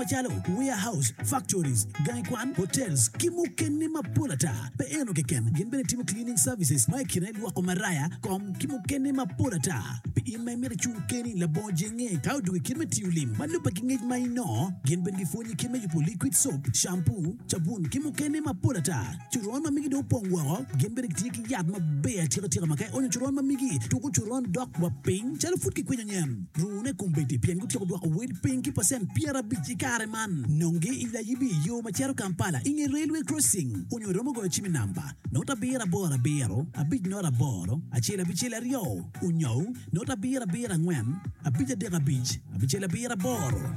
macalo warehouse, factories, gangi kwan, hotels, ki mukene mapol ata. Pe eno keken, gin bene timo cleaning services ma i kine lwoko maraya, kom, ki mukene mapol ata. Pi in ma imito icung keni labongo jenge ka odwogo i kit me tiyo lim ma lubbe ki ngec ma inongo, gin bene gipwonyi kit me yubo liquid soap, shampoo, cabun, ki mukene mapol ata. Coron ma migi dong opong woko, gin bene gitye ki yat maber atika tika ma ka ionyo coron ma migi, tuko coron dok wa piny calo pud kikwinyo nyen. Rune kombeddi pien gutyeko dwoko wel piny ki pacent 50 i kare man. Nongi i Layibi i yo ma cito Kampala i nge Railway Crossing onyo iromo goyo cim i namba, not abiro aboro abiro, abic not aboro, acel abicel aryo, onyo not abiro abiro angwen, abic adek abic, abicel abiro aboro.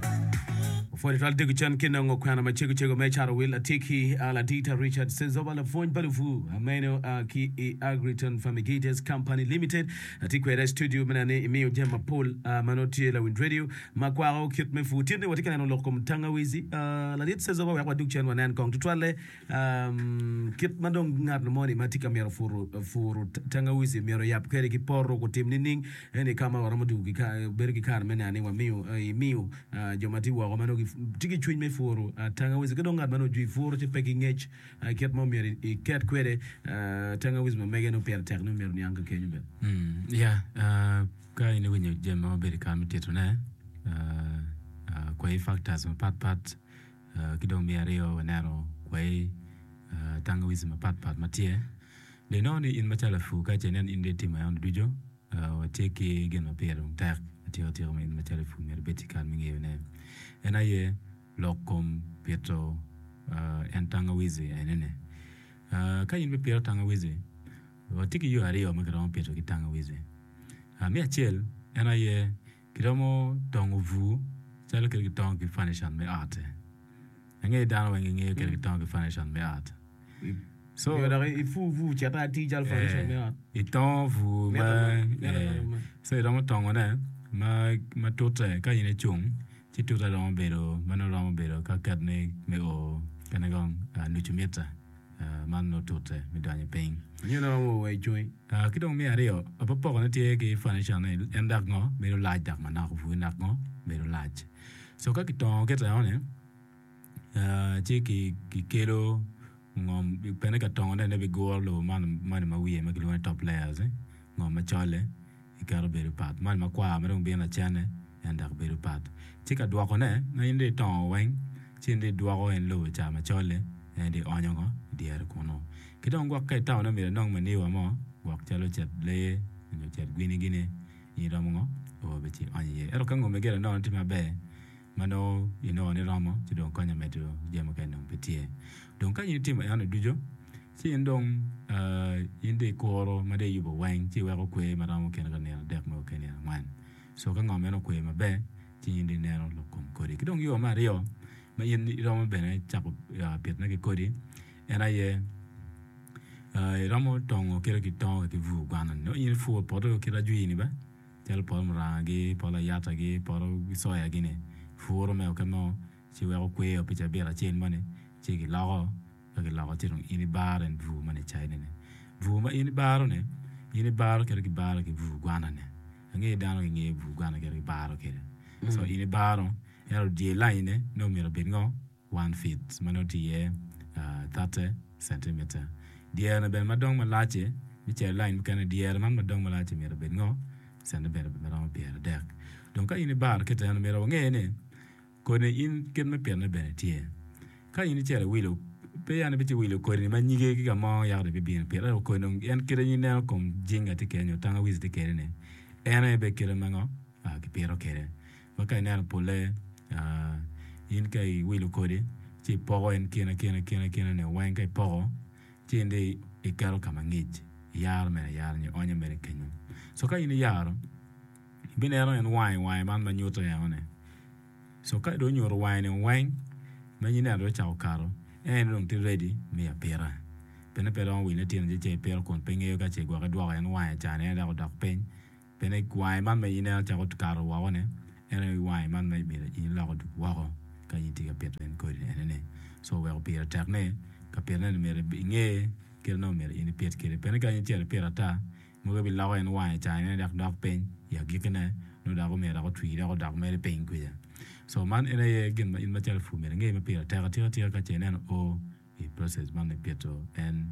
Pwod itwal dego cen ki nongo kwena macego cego me caro wil atye ki Ladita Richard Sezoba lapwony pa lupur meno ki i Agriton Fumigators Company Limited. Atye kwede i studio me neno ni imiyo jami mapol ma nongo tye lawiny radio ma kwako kit me pur. Tin ni watye ka neno lok kom tangawizi. Ladit Sezoba wek wadug cen wanen kong tutwalle Kit ma dong ngat moni ma tye ka mito puro tangawizi myero oyab kwede ki poto gutim nining? Eni ka ma waromo dwogo bedo ki kare me neno ni wamiyo imiyo jo ma tye woko ma nongo gitye ki cwiny me puro tangawizi ki dong ngat ma nongo ojwi puro ci pe ki ngec kit ma myero iket kwede tangawizi ma mege nongo pire tek ni myero oniang ka kenyo bene. Ya, ka in iwinyo jami ma wabedo i kare me titone, kwayi factors mapatpat Ki dong me aryo waneno kwai tangawizi mapatpat ma tye. Dong inongo ni in macalo lapur ka ce inen in dong itimo eno ducu, watye ki gin ma pire dong tek atika tika ma in macalo lapur myero ibed ki kare me ngeyone. En aye lok kom pito en tangawizi enini. Ka in bipito tangawizi, watye ki yo aryo ma kiromo pito ki tangawizi. Me acel en aye Kiromo tongo bur calo kit gitongo ki furniture me ot-ti. Angeyo dano weng gingeyo kit gitongo ki furniture me ot. So, Nyo dok ipur bur cito atir calo furniture me ot. Itongo bur ma so iromo tongone ma ma tute ka in icung ci tute romo bedo ma nongo romo bedo ka ket ni me o kene kong nucu mita. Man nongo tute me donyo piny. Nyo nongo romo wa i congi. Ki dong me aryo, apopokone tye ki furniture ni en dok ngo bedo lac dok manok bur dok ngo bedo lac. So ka kitongo kit eno ni ci kikelo ngom bene ka tongone ne biguro lobo man moni ma wiye ma kilwongo ni top layers ngom macol-li. Iketo bedo pat. Man makwar ma dong bino lacenne en dok bedo pat. Ci ka dwokone, ma in dong itongo weng, ci in dong idwoko en lobo ca macol-li, en dong ionyo ngo i dyere kunu. Ki dong gwok ka itamo ni myero inong maniwa mo, gwok calo cet lee nyo cet gwini gini, in iromo ngo o bene ci ionyo iye. Ento ka ngome gire nono tye maber, ma nongo inongo ni romo, ci dong konyo medo jami mukene dong pe tye. Dong ka in itimo enoni ducu, Ci in dong in dong ikuro ma dong iyubo weng ci iweko kwer ma romo kine ka nino adek nyo ki nino angwen. Co ka ngom meno okwer maber ci in dong ineno lok kom kodi. Ki dong yo me aryo ma in iromo bene cako pitone ki kodi en aye iromo tongo kite ki tongo ki bur gwana nongo in ipuro poto kit ajwini bene calo poto muranga-gi, poto layata-gi, poto coya-gi-ni ipuro me oke mo ci iweko kwer pi cabit acel moni ci giloko. Ka giloko ci dong in ibaro en bur ma nicayine-ni. Bur ma in ibaro-ni, in ibaro kit ma gibaro ki bur gwana-ni. Angeyo dano gingeyo bur gwana kit ma gibaro kwede. So in ibaro, ento dye laine nongo myero obed ngo? One feet ma nongo tye iye thirty centimeter. Dyere bene ma dong malac-ci, me cito i lain mukene, dyere man ma dong malac-ci myero obed ngo? Centimeter ma romo pyeradek. Dong ka in ibaro kit eno, myero wange ni Kodi in kit me pitone bene tye. Ka in icito iwilo, pe ya ni ibicito iwilo kodini ma nyige ki ka mo yako dong ibibino ipito. Ento kodi dong en kite in ineno kom jinga tye kwede nyo tangawizi tye kwede ni en aye bene kite ma ngo kipito kwede. Ma ka ineno polle in ka iwilo kodi ci ipoko en kine kine kine kine ni weng ka ipoko ci in dong iketo ka ma ngic iyaro mere ayara nyo ionyo mere kenyo. Co ka in iyaro Ibineno en wange wange man ma nyuto eno ni. So ka dong onyuto wange ni weng ma in ineno dong ocako kato, en dong tye ready me apita. Pien pe romo wile tyen ci ipito kun pe ngeyo ka ce gwok idwoko en wange ca ni en dok odok piny. Pien wange man ma in ineno cako kato woko ni en aye wange man ma myero in ilok odug woko ka in itye ka pito en kodi eni ni. So oweko pire tek ni ka pitone ni myero inge kit ma myero in ipit kwede. Pien ka in icito ipito ata Mogo biloko en wange ca en dok dok piny i agikkine nongo dok omyero dok otwi dok odok mere piny kwija. So man en aye gin ma in macalo pur myero inge ma pire tek atika tika ka ce ineno o i process man me pito en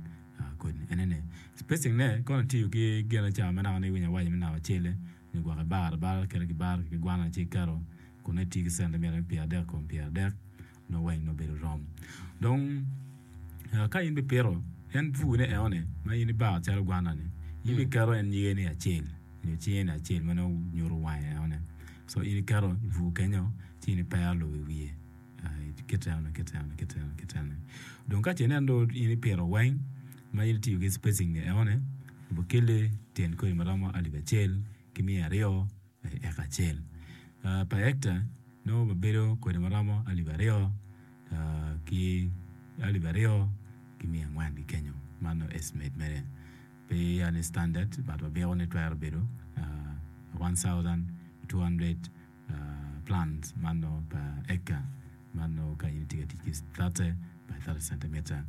kodi ene ni. Spacing ne kono itiyo ki gin aca ma naka ni iwinyo awaco me naka cele nyo gwok ibaro abara kite ki baro ki gwana ci iketo kun nongo itiyo ki centimeter me pyeradek kom pyeradek nongo weng nongo bedo rom. Dong ka in bipito en bur ne eno ni ma in ibaro calo gwana ni in biketo en nyige ni acel nyo cinge ni acel ma nongo nyuto wange eno ni so in iketo i bur kenyo ci in ipero lobo i wiye kit eno ni kit eno ni kit eno ni kit eno ni dong ka ce inen dong in ipito weng ma in itiyo ki spacing ni eno ni obikeli tyen kodi maromo alip acel ki miya aryo i eka acel. Pa hecta nongo wabedo kwede ma romo alip aryo ki alip aryo ki miya angwen ki kenyo. Man nongo estimate mere pe ya ni standard but wabiko ni twero bedo 1200 plants man nongo pa eka man nongo ka in itye ka tic ki 30 by 30 centimeter.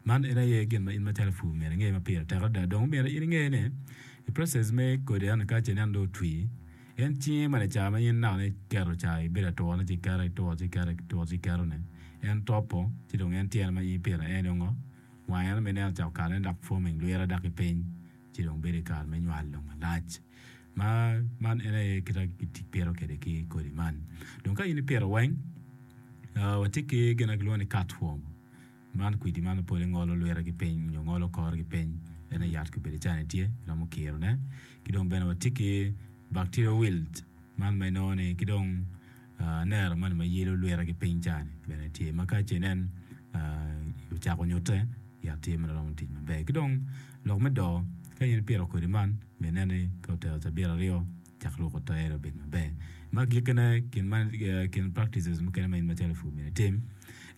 Man en aye gin ma in macalo pur myero inge ma pire tek adada. Dong myero in inge ni i process me kodi eno ka ce ineno dong otwi, en cinge ma lacar ma in naka iketo ca ibedo aturane ci iketo ituro ci iketo ituro ci iketo ni en topo ci dong en tyene ma in ipito en dong ngo wange eno ma ineno ocako kalone dok forming lwite dok ki piny ci dong bedo i kare me nywal dong malac ma man en aye kit ma kipito kwede ki kodi man. Dong ka in ipito weng watye ki gin ma kilwongo ni cutworm. Man kwidi man pole ngolo lwite ki piny nyo ngolo kore ki piny en aye yat kobedo cani tye iromo kiro ne ki dong bene watye ki bacteria wilt man ma inongo ni ki dong nero moni ma yelo lwite ki piny cani bene tye ma ka ce inen ocako nyute yat tye ma romo tic maber ki dong lok me doo ka in ipito kodi man myero inen ni ka otero cabit aryo cak ruko tere obed maber. Ma agikkine, gin ma kin practices mukene ma in macalo lapur myero itim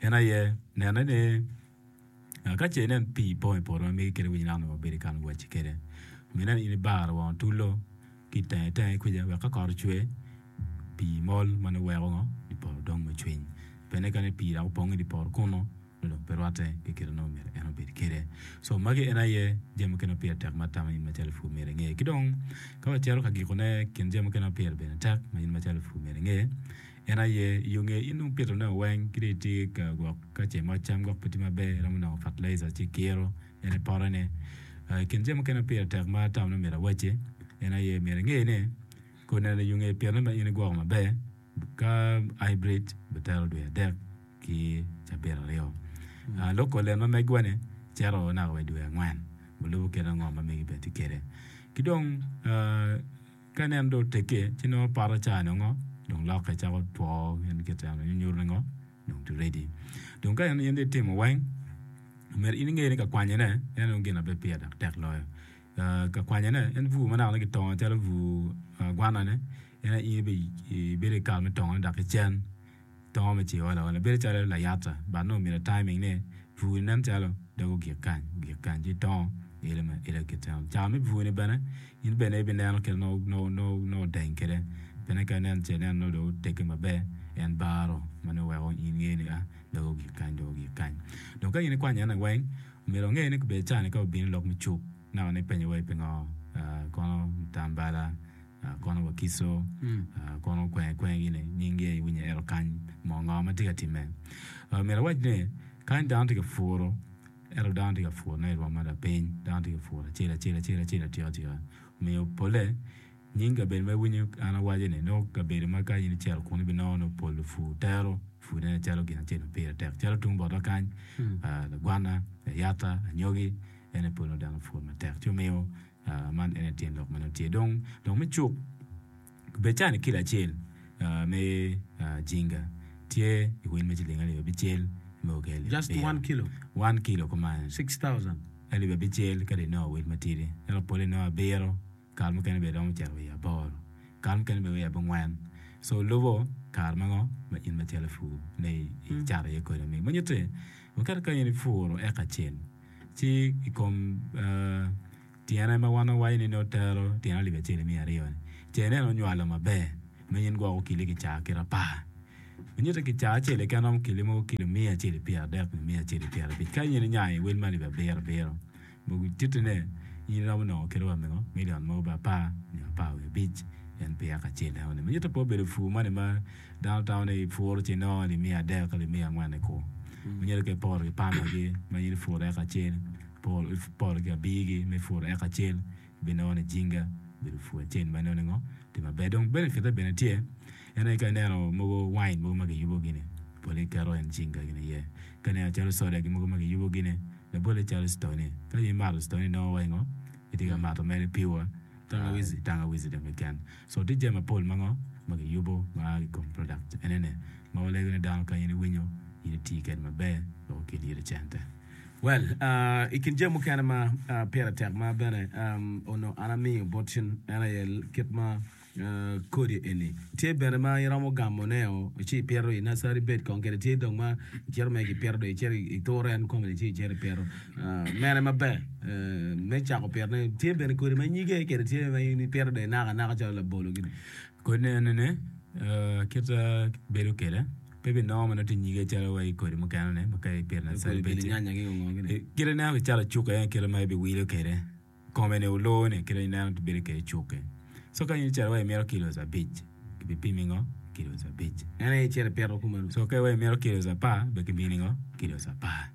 en aye nene ni ka ce inen pii pong i poto ma megi kede winyo naka nongo wabedo i kan wacci kede myero inen in ibaro wang otullo ki itenge tenge kwija wek ka kot ocwer pii mol ma nongo weko ngo i poto dong me cwiny. Bene ka ni pii dok opong i dye poto kunu nongo dong pe rwatte ki kite nongo myero en obed kwede. So magi en aye jami mukene ma pire tek ma atamo in macalo lapur myero inge. Ki dong ka wacito ka gikone kin jami mukene ma pire bene tek ma in macalo lapur myero inge en aye i yo nge in dong pitone weng ki dong itye ka gwok ka ce moc cam gwok pe tye maber iromo nongo fertilizer ci ikiro en i pote ni. I kin jami mukene ma pire tek ma atamo ni myero awacci en aye myero inge ni kodi neno i yo nge pitone ma in igwoko maber Ka hybrid bitero dwe adek ki cabit aryo. Local en ma megwa ni cito naka wa i dwe angwen wulubo kit ango ma megi bene tye kwede. Ki dong ka ineno dong otegge ci nongo poto ca nongo dong lokke cako two gin kit eno nyuto ni ngo dong tye ready. Dong ka in dong itimo weng myero in inge ni ka kwanyone en dong gin ma bene pire dok tek loyo. Ka kwanyone en bur ma naka ni kitongo calo bur gwana-ni en aye in ibedo ki kare me tongone dok ki cen tongo me ci oolo aola bedo calo layata but nongo omyero timing ni bur-ni nen calo dog ogik kany ogik kany ci itongo ilo me aila kit eno cawa me bur-ni bene in bene ibineno kit ma nongo odeng kwede bene ka inen ce inen nongo dong otegge maber en baro ma nongo weko in ingeyo ni a dog ogik kany dog ogik kany dong ka in ikwanyo ene weng Myero wange ni kobedo cani ka obino i lok me cuk naka ni penyo wa pingo kono Mutambala, kono Wakiso, kono kwenge kwenge gini nying gi aye iwinyo ento kany moo ngo ma tye ka time. Myero awac ni kany dano tye ka puro ento dano tye ka puro ne i rwom ma lapiny dano tye ka puro acel acel acel acel atika atika omiyo pole Nying kabedo ma iwinyo an awaco ni nongo kabedo ma ka in icito kunu ibinongo nongo pol lupur tero purne calo gin acel ma pire tek calo tung bota kany lagwana, layata, anyogi en aye pol nongo dano pur matek ci omiyo man en aye tyen lok ma nongo tye dong lok me cuk bed cani kilo acel me jinga tye i wel me ciling alip abicel me ki alip Just one kilo. One kilo kuman 6,000. alip abicel ka dong inongo wel matidi ento pole inongo abiro. Kare mukene bene romo cito wa i aboro, kare mukene bene wa i abongwen. So lubo kare ma ngo ma in macalo ipur ne icato iye kodi omege. Ma nyutte waketo ka in ipuro eka acel ci i kom tyene ma wan wawaco ni nongo tero tyene alip acel ki miya aryo ni ce ineno onywalo maber ma in gwok okili kicaa kit apar. Ma nyutte kicaa acel keken romo kili mogo kilo miya acel ki pyeradek nyo miya acel ki pyerabic ka in inyayo i wel me alip abiro abiro. Mogo titine, in iromo nongo kite wa mingo milion mogo bene apar nyo apar wiye abic. En pi eka acel enoni. Ma nyuto pe obedo pur moni ma dano tamo ni ipuro ci inongo alip miya adek, alip miya angwen i kur. Ma nyuto ka iporo ki pamagi ma in ipuro eka acel, iporo ki abirgi ma ipuro eka acel, ibinongo ni jinga obedo pur acel ma inongo ni ngo tye maber. Dong benefit-te bene tye, en aye ka ineno mogo wine mogo ma kiyubo gini pole kiketo en jinga gini iye. Ka ineno calo soda gi mogo ma kiyubo gini labole calo stoni, ka in imato stoni inongo wai ngo itye ka mato mere piwa. Tangawizi. Tangawizi dong keken. So tye jami mapol ma ngo ma kiyubo ma a ki kom product enene ma walego ni dano ka in iwinyo in iti kede maber wek okel iri cente. Well, i kin jami mukene ma pire tek ma bene onongo an amiyo bot cen en aye kit ma kodi eni tye bene ma iromo gamo ne o ci ipito i nursery bed kong kede tye dong ma icito mere kipito dong icito ituro en kome ni ci icito ipito mene maber me cako pitone tye bene kodi ma nyige kede tye ma in ipito dong inako anaka calo labolo gini. Kodi enini kit bedo kwede pe binongo ma nongo tye nyige calo wai kodi mukene ni ma ka ipito i nursery bed tye kite ineno kicalo cuka en kite ma ibiwilo kwede. Kome ni oloo ni kite ineno ti bedo kede cuke. So ka in icito wa imito kilos abic, kibipimi ngo? Kilos abic. En aye icito ipito kumeno. So ka wa imito kilos apar, be kimini ngo? Kilos apar.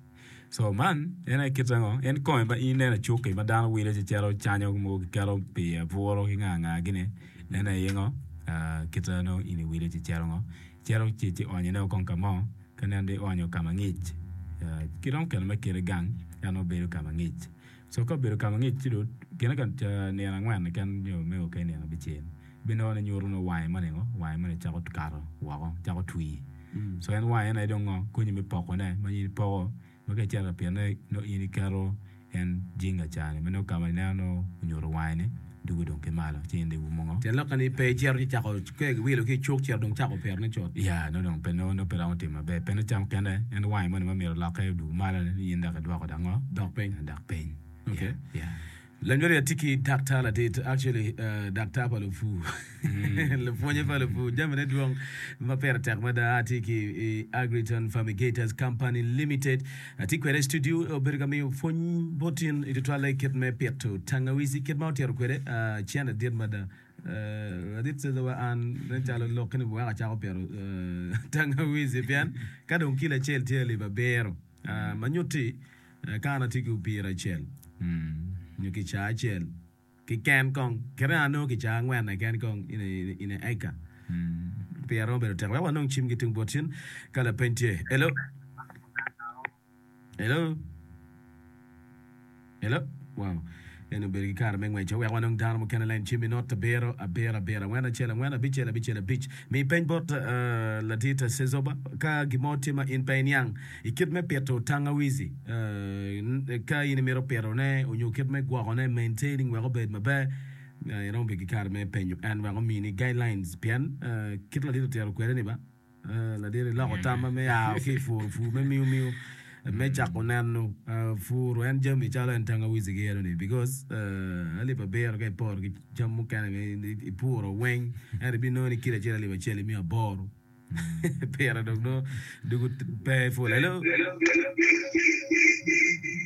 So man en aye kite ngo? En kome ma in ineno icuki ma dano wilo ci cito canyo mogo kiketo pi aburo ki nga nga gini, en aye ngo? Kite nongo in iwilo ci cito ngo? Cito ci ci onyo ne kong ka mo, ka ineno dong ionyo ka ma ngic, kiromo keto me kite gang ento nongo bedo ka ma ngic. Co ka obedo ka ma ngic ci dong gine ka nino angwen keken nyo me o kene nino abicel binongo ni nyuto nongo wange moni ngo wange moni cako kato woko cako twi co en wange en aye dong ngo konyi me poko ne ma in ipoko ma ka icito ka pitone nongo in iketo en jinga cani ma nongo ka ma ineno nongo onyuto wange ni dugo dong ki malo ci in dong iumo ngo. Tyen lokke ni pe icito ci cako ka iwilo ki icuk cito dong cako pitone cut. Ya nongo dong pe nongo pe romo timo maber pien nongo ca mukene en wange moni ma myero olokke odug malo ni in dok idwoko dok ngo? Dok piny. Dok piny. Ok. Ya. Lanywali atye ki daktar ladit actually daktar pa lupur lupwonye pa lupur jamine dwong ma pire tek mada atye ki i Agriton Fumigators Company Limited Atye kwede i studio, obedo ka miyo pwony bot in i tutwalle i kit me pito tangawizi, kit ma otito kwede cente dit mada. Ladit Ceza wa an nen calo lokki ni weko acako pito tangawizi pien ka dong kilo acel tye alip abiro ma nyutti ka an atye ki opira acel nyo kicaa acel Keken kong, kite anongo kicaa angwen keken kong in a acre. Pire romo bedo tek. Wek wanong cim ki tung bot cen ka lapeny tye. Hello? Hello? Hello? Wow. En obedo ki kare me ngweco. Wek wanong dano mukene lain cim i not abiro abiro abiro angwen acel angwen abicel abicel abic. Mi peny bot uh, ladit Sezoba ka gin mo tye ma in pe iniang I kit me pito tangawizi, ka in imito pitone onyo kit me gwokone, maintaining, wek obed maber, iromo bedo ki kare me penyo en wek omini guidelines pien kit ladit otito kwede ni ba ladit iloko tamma me a ki i puro pur me miu miu me cako neno puro en jami calo en tangawizi ki eno ni because alip abiro ka iporo ki cam mukene ma ipuro weng ento ibinongo ni kilo acel alip acel imiyo aboro. Pire dong nongo dugu pe pul. Hello.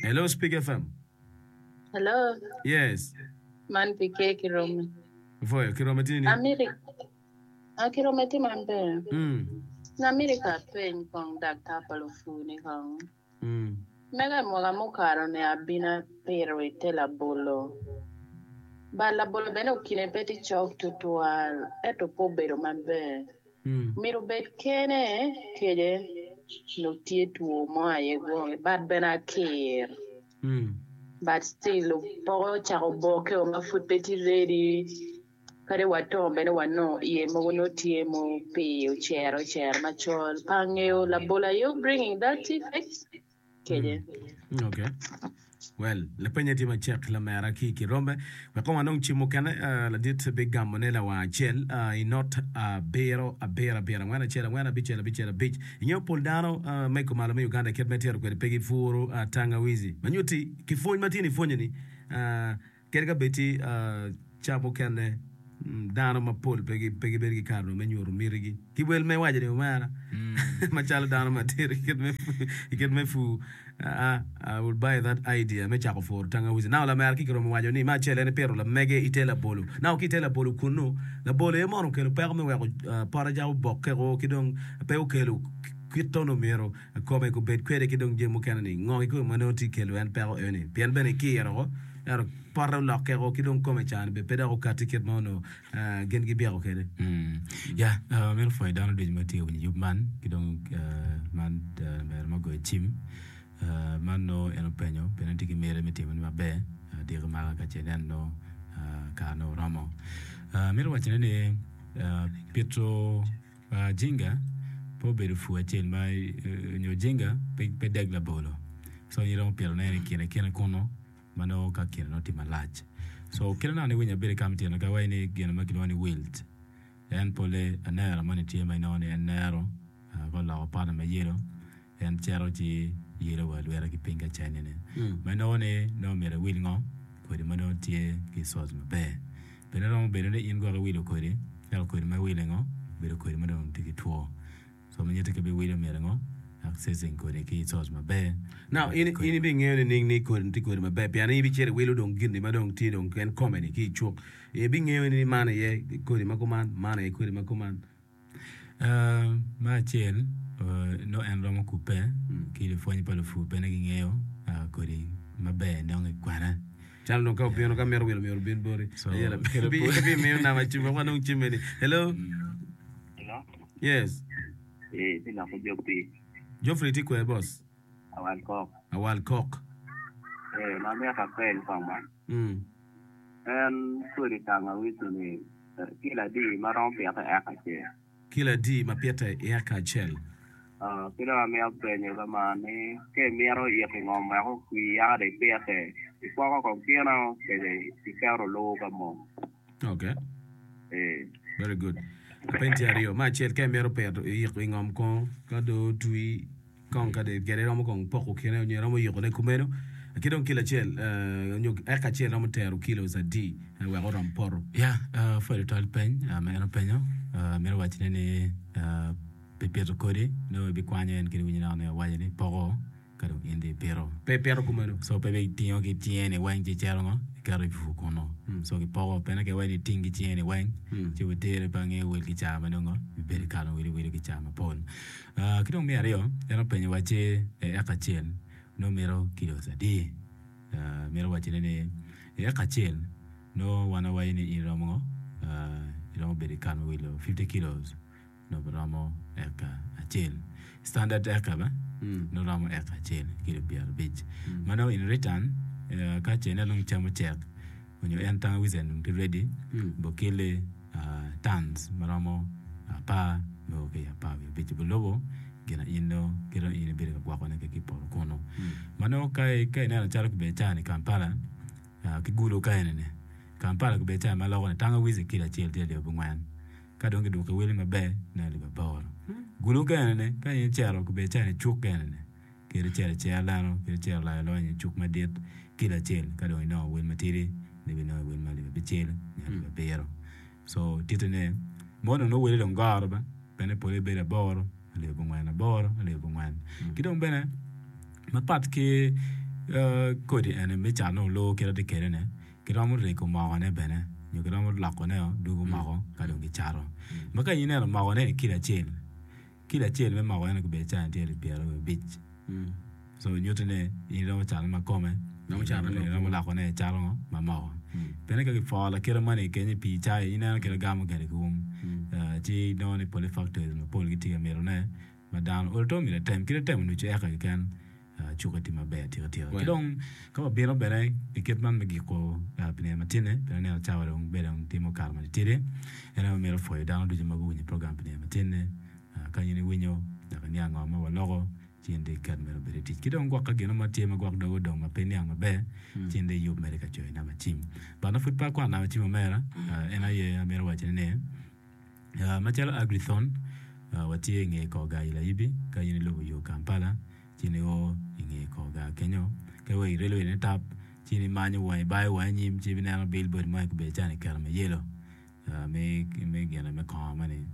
Hello Speak FM. Hello. Yes. Man PK Kirome. Voyo Kirome tye ni. Amiri. Ah, Kirome tye maber. Namiri ka peny kong daktar pa lupu ni kong. Mega i mwaka mukato ni abino apito i te labolo. But labolo bene okine pe tye cok tutwal ento pe obedo maber. Myero obed kene kece nongo tye two mo aye gwoki but bene akir. But still poko ocako boke o ma pud pe tye ready. Kadi wato bene wanongo iye mogo nongo tye mupii ocero ocero macol. Pe angeyo labol are you bringing that effect kece? Okay. Well, lapenye tye macek lamera ki i Kirombe. Wek kong wanong cim mukene, ladit bigamone lawang acel i not abiro abiro abiro angwen acel angwen abicel abicel abic. Ingeyo pol dano me kumalo me Uganda kit ma itito kwede pe gipuro tangawizi. Ma nyutti ki pwony ma tye ni ipwonyo ni, Kadi ka bed tye ca mukene Dano mapol pe gibedo ki kare me nyuto mitigi ki wel ma iwaco ni omera macalo dano madit i kit me pur. I will buy that idea me cako puro tangawizi. Now lamera ki kiromo waco ni me acel en ipito lamege ite labolo. Now ki ite labolo kunu, labolo aye mono okelo peko me weko pote ca obokke-o ki dong pe okelo kit tono myero kome obed kwede ki dong jami mukene ni ngo kikome ma nongo tye kelo en peko eno ni pien bene ikiro ko ento pote olokke ko ki dong kome ca ni bene pe dok okati kit ma onongo gin gibyeko kwede. Ya, amito pwoyo dano ducu ma tye ka winyo yub man ki dong man lamera ma ogoyo cim man nongo en openyo pien en tye ki miti me timone maber diki maka ka ce nen nongo kare nongo oromo. Amito wacone ni pito Jinga pe obedo pur acel ma nyo jinga pe deg labolo so in iromo pitone i kine kine kunu ma nongo ka kine nongo tye malac so kit ma nongo iwinyo abedo ka me tyeno ka iwaco ni gin ma kilwongo ni wilt en pole anero moni tye ma inongo ni en nero ka oloko pote ma yelo En cito ci yelo wa lwite ki piny ka cennine, ma inongo ni nongo myero iwil ngo? Kodi ma nongo tye ki source maber. Bene romo bedo ni in gwok iwilo kodi, ento kodi ma iwilo ngo? Obedo kodi ma dong tye ki two. So ma nyutti ka ibiwilo myero ngo? Accessing kodi ki source maber. Now, in in ibingeyo nining ni kodi tye kodi maber? Pien in ibicito iwilo dong gin-ni ma dong tye dong en kome-ni ki i cuk. Ibingeyo ni man aye kodi ma kuman, man aye kodi ma kuman. Me acel, nongo en romo kubbe ki lupwonye pa lupur bene gingeyo kodi maber nongo i kwena. Calo dong ka obino ka mito wilo myero obin boti. Ibimiyo namba cim wek wanong cimme ni. Hello. Hello. Yes. Eh, ti loko Geoffrey. Geoffrey tye kwer boss. Awal kok. Awal kok. Eh, ma mito apeny kong man. En kodi tangawizi ni kilo adi ma romo pite i eka acel? Kilo adi ma pite i eka acel? Ki dong amito penyo ka man ni ka imito ito ngom wek okwi yaka dong ipite, ikwoko kong kino kece iketo oluu ka mong? Ok. Ee. Very good. Lapeny tye aryo. Me acel ka imito pito iyiko i ngom kong ka dong otwi. Kong ka dong kede iromo kong poko kine onyo iromo yiko ne kumeno ki dong kilo acel onyo eka acel romo tero kilos adi wek orom poto. Ya, pwod tutwal peny ma en openyo, mito wacone ni pi pito kodi nongo ibikwanyo en kede winyo naka ni awaco ni poko ka dong in dong ipito. Pe ipito kumeno. So pe ibitingo ki cinge ni weng ci icito ngo iketo i bur kunu. So kipoko pene ka iwaco ni iting ki cinge ni weng ci obiteri pe angeyo wel ki caa ma nongo ibedo ikalo wilo iwilo ki caa mapol. Ki dong me aryo, en openyo wa ci i eka acel nongo mito kilos adi? Mito wacone ni i eka acel nongo wan wawaco ni in iromo ngo? Iromo bedo i kan me wilo fifty kilos nongo romo eka acel. Standard eka ba nongo romo eka acel kilo pyerabic. Ma nongo in return ka ce ineno dong cam ocek onyo en tangawizi dong tye ready bokeli tons ma romo apar nyo ki 15 bilubo gin in nongo kit ma in ibedo ka gwokone ki i poto kunu. Ma nongo ka ineno calo kibedo cani i Kampala ki gudo ka enini Kampala kibedo cani ma loko ni tangawizi kilo acel tye alip abongwen ka dong kidwoko iwele maber nongo alip aboro. Gudo ka enini ka in icito kibedo cani i cuk ka enini Kadi icito icero dano, kadi icito olayo lonyo i cuk madit kilo acel, ka dong inongo wel matidi, nongo ibinongo wel ma alip abicel nyo alip abiro. So titone, mono dong nongo wele dong goro ba, pien pole bedo aboro, alip abongwen aboro, alip abongwen. Ki dong bene mapat ki kodi eni me cat nongo olor kit atye kwede ni, kiromo rego mokone bene nyo kiromo lokone dwogo moko ka dong kicato. Ma ka in ineno mokone ni kilo acel, Kilo acel me moko eno kibedo cani tye alip 25. So nyuto ni in iromo cate ma kome, iromo lokone icalo ngo ma moko. Pien ka kiporo lakite moni kenyo i pii cai ineno kit gamo kwede ki um ci inongo ni pole factories mapol gitye ka mitone ma dano olo to myero etem kit etemo nucu eka keken. Cukke tye maber atika tika. Ki dong ka wabino bene i kit man me giko pi nino matinni, pien aneno cawa dong bene dong tye ma okato matitidi, en aye wamito pwoyo dano ducu ma guwinyo program pi nino matinni. Ka in iwinyo dok iniang ngo ma waloko, ci in dong iket mere obed i tic. Ki dong gwok ka gin mo tye ma gwok dogi odong ma pe iniang maber, ci in dong iyub mere ka coyo namba cim. But nongo pud pe akwano namba cim omera, en aye amito wacone ni, Macalo Agrithon, watye i nge kor gar i Layibi. Ka in ilubo yo Kampala, ci nio i nge kor gar kenyo. Ka iweko i railway ni tap, ci in imanyo wangi, ibayo wangi anyim ci ibineno billboard mo aye kibedo calo ni keto ma yelo. Me gine me kongo moni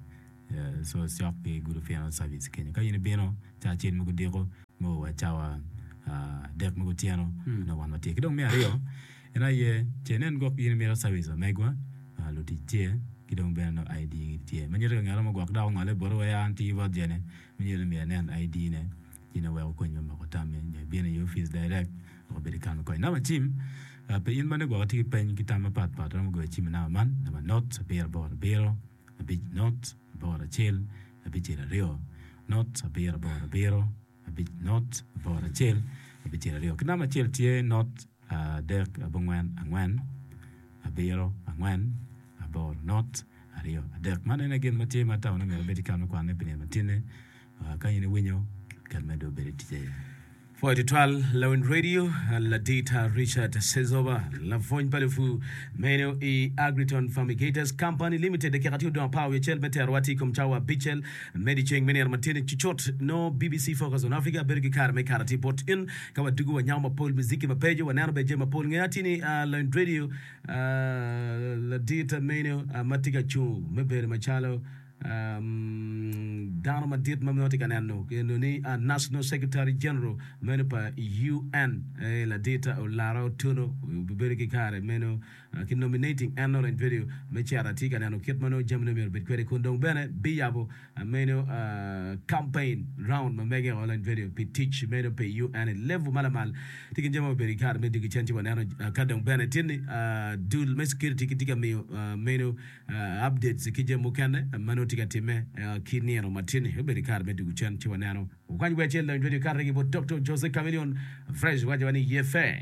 so cok ki Gudo Funeral Service kenyo. Ka in ibino cawa acel me kudiko me o wa cawa adek me kutyeno nongo wan watye. Ki dong me aryo en aye ce inen gwok in imito service pa megwa lutic tye ki dong bene nongo ID gi tye ma nyuto ka ngat mo gwok dok ongole boti wa ya an tiyo bot jene ma nyuto ni myero inen ID ne ci nongo weko okonyi me moko tammi nyo ibino i opic direct wek obed ki kare me konyi. Namba cim. Pi in ma nongo gwok itye ki peny ki tam mapat pat, iromo goyo cim i namba man, namba not abiro aboro abiro, abic not aboro acel, abicel aryo, not abiro aboro abiro, abic not aboro acel, abicel aryo. Ki namba acel tye not adek abongwen angwen, abiro angwen, aboro not aryo adek. Man en aye gin ma tye ma atamo ni myero obed ki kare me kwanone pi nino matinne. Ka in iwinyo, ket medde obed i tic aye. Pwoyo tutwal Lawiny Radio, Ladita Richard Sezoba, lapwony pa lupur meno i Agriton Fumigators Company Limited. Dakika tye odong apar wiye acel me terowa tye i kom cawa abicel me dyeceng me nino matini cucut nongo BBC Focus on Africa bedo ki kare me kato atir bot in ka wadugo wanyamo mapol muziki mapeco waneno bene jami mapol. Nge atir ni Lawiny Radio, Ladita meno ma tye ka cung me bedo macalo Dano madit ma nongo tye ka neno eno ni National Secretary General meno pa UN ladit Olara Otuno obibedo ki kare meno ki nominating en nongo en bedo me cito atye ka neno kit ma nongo jamine myero obed kwede kun dong bene biyabo meno campaign round ma mege o en bedo pi tic meno pi UN i level ma lamal tye ki jami ma obedo ki kare me dwogo cen ci waneno ka dong bene tye ni dul me security gitye ka miyo meno Updates ki jami mukene ma nongo tye ka timme ki nino ma tye ni obedo i kare me dwogo cen ci waneno. Wukwany wer acel donyo radio kare ki bot Doktor Jose Chameleone Fresh waco wa ni ye fe.